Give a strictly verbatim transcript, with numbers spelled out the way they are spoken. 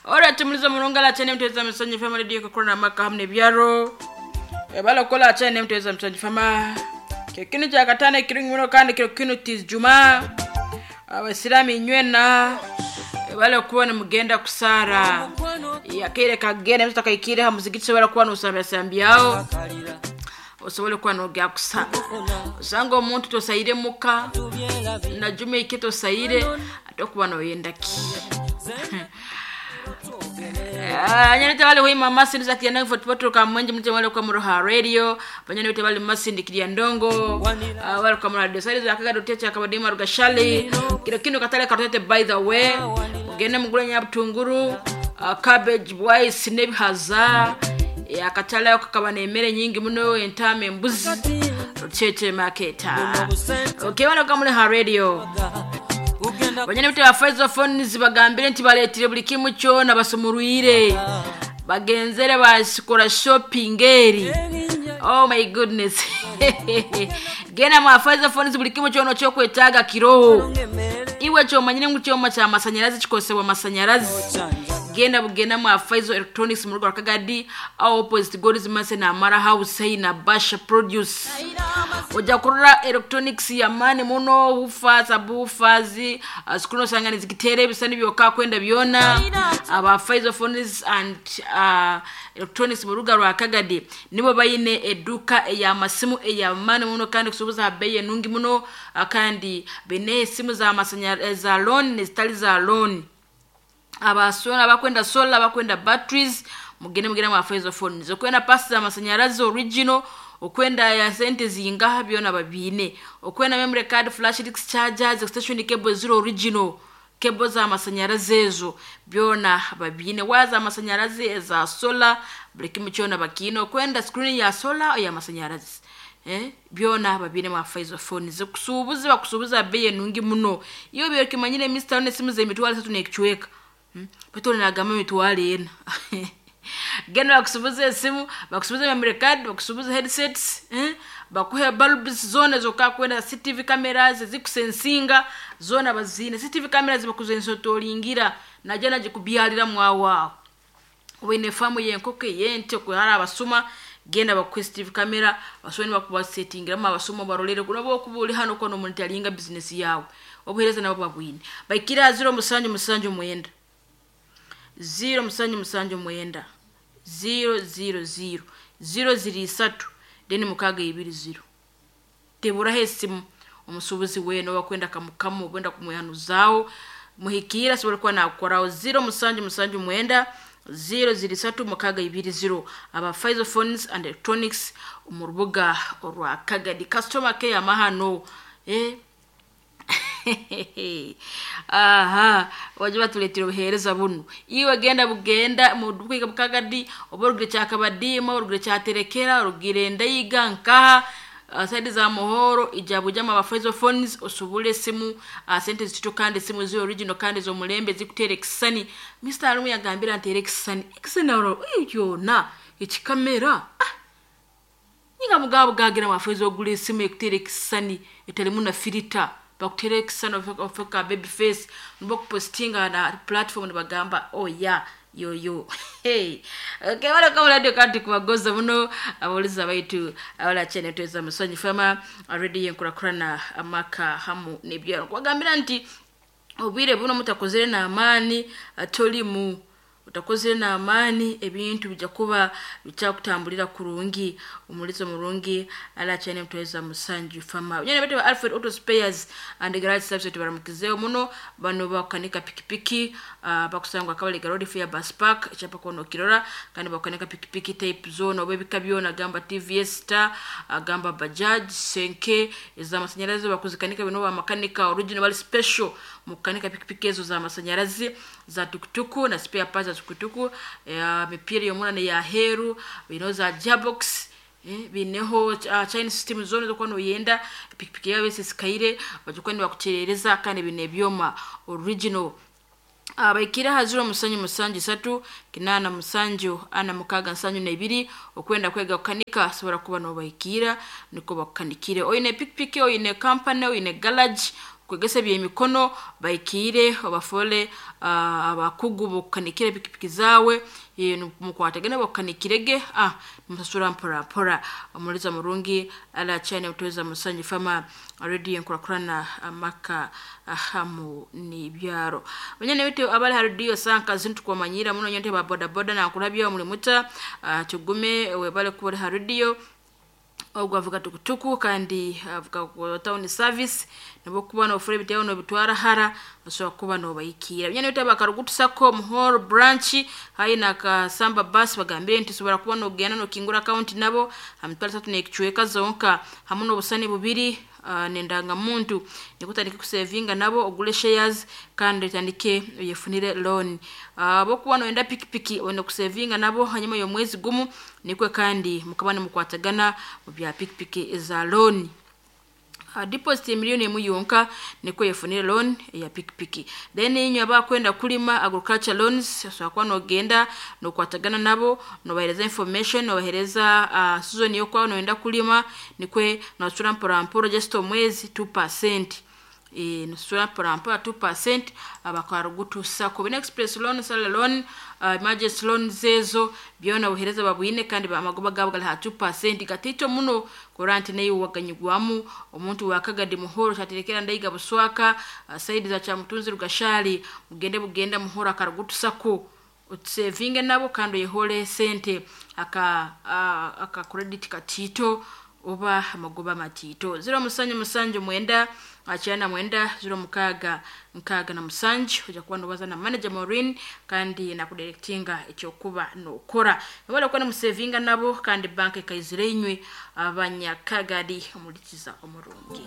Alright, mulizo mulungala chene mteza msonyi fama radio kokona maka hamne byaro. Ebala kola chene mteza msonyi fama. Kekinu cha katana kirungi muno kandi kiro kinu tiz juma. Abasiramu inywena. Ebala kuba mugenda kusara. Yakere kagenda mtu takaikire ha muzikiti sobora kuba nusambya sambyao. Osobole kuba nogya kusara. Osanga omuntu tosaire muka na juma ike tosaire atokuba noyenda ki. Anyane wale huima masindi za kiyandango fotopoto ka mwenje mte wale kwa muroha radio banyane wote wale masindi kiyandango uh, wale kwa radio sali za kaga dotecha kabadima rugashali kilo kino katale katete by the way mugende mugule nyabutunguru uh, cabbage bwais nebihaza ya katale kakaba nemere nyingi muno entame embuzi cheche market. Okay, wale kwa muroha radio banyane bite ba phones bagambire nti baletire buli kimu kyona basumurwire bagenzere basikora shopping eri. Oh my goodness. Gena ma phones buli kimu kyona kyokwetaaga kiroho iwe kyomanyire ngu kyoma kya masanyalazi kikosebwa masanyalazi. Genda bugenda mu Faizo Electronics mu rugo Kagadi au opposite God's Mercy na Mara House na Basha Produce. Oja kurora electronics ya mani muno hufa sabufazi asikuno sangani zikitere bisani byoka kwenda byona aba Faizo Phones and uh, Electronics mu rugo rwa Kagadi nibo bayine eduka ya masimu ya mani muno kandi kusubuza beye nungi muno kandi bene simu za masanya za loan zitali za loan abasona bakwenda solar bakwenda batteries mugende mugende mu Faizo Phones okwenda pasi za masanyarazi original okwenda ya sente zingaha byona babine okwenda memory card flash disk chargers extension cable zero original cable za masanyarazi ezo byona babine waza masanyarazi za solar buli kimu kyona bakino okwenda screen ya solar ya masanyarazi eh byona babine mu Faizo Phones kusubuza bakusubuza beye nungi muno iyo byo kimanyire Mister one simu ze mitwalo tatu nekichweka. Hmm? Petoli nagamba mitwalo ena. Genda bakusubuza esimu, bakusubuza memory card, bakusubuza headsets, eh? Bakuhe bulbs zone zoka kwenda C C T V cameras zikusensinga zona bazine C C T V cameras bakuzensotolingira naje naje kubyalira mwawa. Wene famu yenkoke yente kuhara abasuma genda bakuhe C C T V camera basoni bakubasettingira mu abasuma barolere kunabo kubuli hano kono omuntu alinga business yawe. Obuhereza nabo babwine. Baikira zero musanju musanju mwenda. zero musanju musanju mwenda zero zero zero zero ziri isatu deni mukaga ibiri zero tebura hesimu omusubuzi weno wakwenda kamukamu ogenda kumuyanuzao muhikira sobora kuba nakukoraho zero musanju musanju mwenda zero ziri isatu mukaga ibiri zero aba Faizo Phones and Electronics mu rubuga rwa Kagadi customer care amahano eh aha waje batuletira obuhereza buno iwe genda bugenda mu bwiga bukagadi oborugire cyakabadima orugire cyaterekera orugire ndayiga nkaha uh, side za muhoro ijabu jama ba Faizo Phones osubule simu uh, sente zitito kandi simu zi original kandi zo mulembe zikutere kisani Mister Alumu yagambira ntere kisani kisani oro yona ikikamera ah ninga mugabo gagira ma Faizo ogule simu ekutere kisani eteremu na filter bakutere kisano ofeka baby face nbokupostinga na platform bagamba oh yeah yo yo hey okay wala kama radio kandi kubagoza muno aboliza baitu abala chene tweza musonyi fama already yenkurakurana amaka hamu nebyaro kwagambira nti obwire buno mutakozere na amani atoli mu utakozere na amani ebintu bijja kuba bikyakutambulira kurungi omulizo murungi ala chene mtweza musanju fama nyene bete Alfred Auto Spares and Garage Service baramukizeo muno bano bakanika pikipiki uh, bakusangwa kabali garodi fair bus park chapa kono kirora kandi bakanika pikipiki type zone obebika byona gamba T V S Star gamba Bajaj Senke za masanyarazi bakuzikanika bino ba makanika original bali special mukanika pikipiki ezo za masanyarazi za tukutuku na spare parts za tukutuku ya mipira yomuna ne ya heru bino za gearbox eh bineho uh, chain system zone zo kwano yenda pikipiki yawe sisikaire bajukwani bakucherereza kandi bine byoma original abaikira haziro musanyu musanju satu kinana musanju ana mukaga nsanyu na ibiri okwenda kwega kukanika sobora kuba no baikira niko bakanikire oyine pikipiki oyine company oyine garage Kwegesa byemikono baikire obafole uh, abakugu bokukanikira pikipiki zawe, mukwatagana bokukanikirege, ah musasura mpora mpora. Omuliza murungi ala chane utweza musanji fama radio enkurakurana amaka hamu nibyaro. Banyana bitu abali ha radio sanka zintu kwamanyira muno nyonte ba boda boda na kulabya omulimuta, uh, tugume webale kuba ha radio ogwo avuga tukutuku kandi avuga ku town service nabo kuba nofura ebitabo nobitwara hara osobola kuba nobayikira. Byana bitaba karugutusako muhoro branch hayi na kasamba bus bagambire nti sobora kuba nogenda nokingura account nabo amitwalo tatu nekichweka zonka hamu n'obusani bubiri, uh, nendanga muntu nikutandike kusevinga nabo ogule shares kandi otandike oyefunire loan. uh, bokuba noyenda pikipiki oyenda kusevinga nabo hanyuma y'omwezi gumu nikwe kandi mukaba nimukwatagana mu bya pikipiki za loan. Uh, deposit miliyoni emu yonka nikwo yefunire loan ya pikipiki. Then inywe abakwenda kulima agriculture loans osobola kuba nogenda nokwatagana nabo nobahereza information, nobahereza uh, season yokuba noyenda kulima nikwe nosasura mpora mpora just omwezi two percent. E, nosasura mpora mpora two percent abakarugutusako. Bina express loan, salary loan, uh, emergency loans ezo byona obuhereza babwine kandi amagoba gabo gali ha two percent gatito muno kuranti nayo waganyigwamu omuntu wakagadi muhoro kyaterekera ndayiga buswaka, uh, saidi za Kyamutunzi Rugashali mugende bugenda muhoro akarugutusako utsevinge nabo kandi oyehole sente aka uh, aka credit katito oba amagoba matito. Zero musanju musanju mwenda akyana mwenda zero mukaga nkaga na musanju ojja kuba nobaza na manager Maureen kandi nakudirectinga ekyokuba nokora. Nobala kuba musevinga nabo kandi bank ekaizire inywe abanyakagadi omulikiza omurungi.